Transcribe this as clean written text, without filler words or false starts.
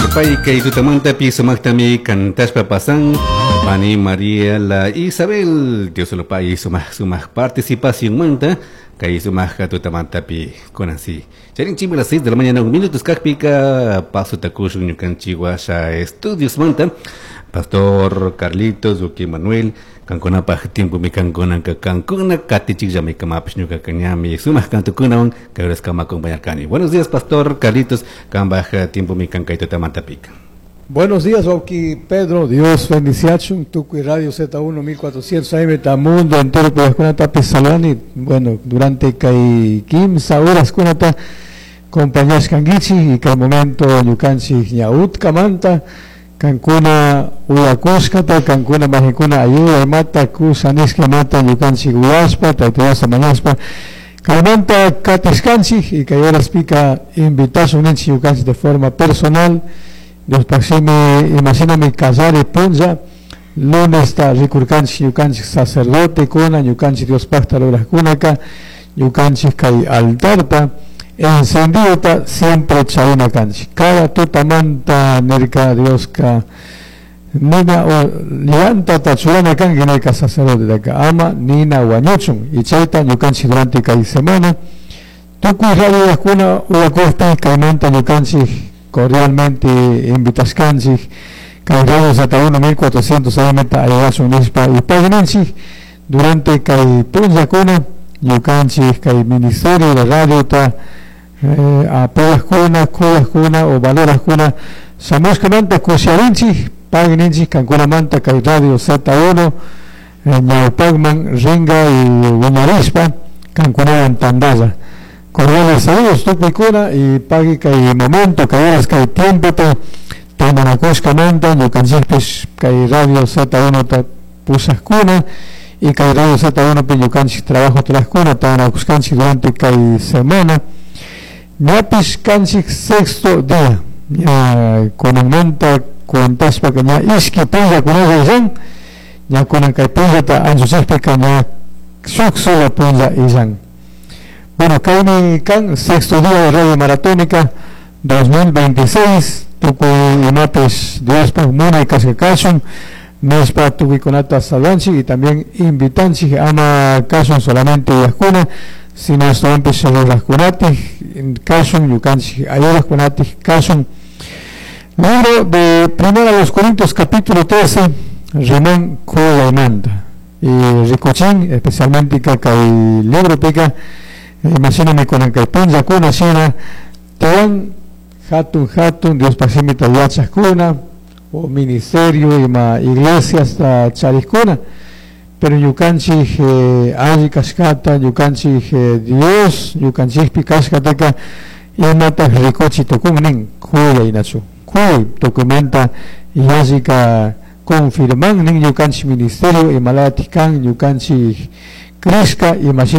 Supay kay tutamantapi sumaqtami kantashpa pasan pani María la Isabel. Dios lo pague sumaq sumaq participacionmanta kay sumaq tutamantapi kunan si. Charinchikmi las 6 de la mañana 1 minutos kaqpika paso takushun ñukanchik washa estudiosmanta Pastor Carlitos, Uki Manuel, kankunapaj tiempomi kankunanka kankuna katichikllami kamapish ñukaqa ñami sumaq kantukunawan kay horaskama acompañarkani. Buenos días, Pastor Carlitos, kambaj tiempomi kan kay tutamantapika. Buenos días, wawki Pedro. Dios bendiciachun. Tukuy Radio Z1 1400 AM ta mundo entero kunatapi salani. Bueno, durante kay kimsa horas kunata compañashkankichik y kay momento ñukanchik ña utkamanta kankuna uyakushkata, kankuna majikuna ayuda imata kusa nishka imata ñukanchik uyashpa, Tayta Diosta mañashpa kaymanta katishkanchik y kay horaspika invitashun ninchik ñukanchik de forma personal. Diospaj shimi imashinami kallari punlla lunesta rikurkanchik ñukanchik sacerdotekuna, ñukanchik Diospajta rurajkunaka, ñukanchik kay altarta encendidota siempre charina kanchik. Cada tutamanta nirka Dioska nina o llantata churana kanki nirka sacerdotetaka ama nina wañuchun y chayta ñukanchik durante kay semana tukuy radiokuna uyakukpi kaymanta ñukanchik cordialmente invitashkanchik kay Radio Z1 1400 AM ta ayudashun nishpa y paginanchik durante kay punllakuna ñukanchik kay ministerio de radiota apoyajkuna, kuyajkuna o valorajkuna shamushkamanta kusharinchik pagininchik kankunamanta kay Radio Z1 ñawpakman ringa y wiñarishpa kankunawan tandalla. Cordiales saludos tukuykuna y pagui kay momento, kay horas, kay tiempo tandanakushkamanta ñukanchikpish kay Radio Z1 ta pushajkuna y kay Radio Z1 pi ñukanchik trabajo trajkuna tandanakushkanchik durante kay semana. Ñapish kanchik sexto día, ña kunanmanta cuentashpaka ña ishki punllakunalla illan, ña kunan kay punllata anchuchikpika ña shuk solo punlla illan. Bueno, kaymi kan sexto día de Radio Maratónica 2026, tukuy imapish Diospaj munay kashka kashun, nishpa tukuykunata saludanchik y también invitanchik ama kashun solamente uyajkuna, sino ashtawanpish rurajkunatik kashun, ñukanchik ayudajkunatik kashun. Libro de Primera a los Corintios capítulo 13, riman kuyaymanta. Y rikuchin, especialmente kay libropika, imashinami kunan kay punllakuna shina, tiyan hatun hatun Diospaj shimita yachajkuna, o ministerio ima iglesiasta charijkuna, pero ñukanchik alli kashkata, ñukanchik Dios, ñukanchikpi kashkataka imataj rikuchi tukun nin kuyaynachu. Kuyay tukuymanta yallika confirman nin ñukanchik ministerio imalatik kan ñukanchik crishka imashina.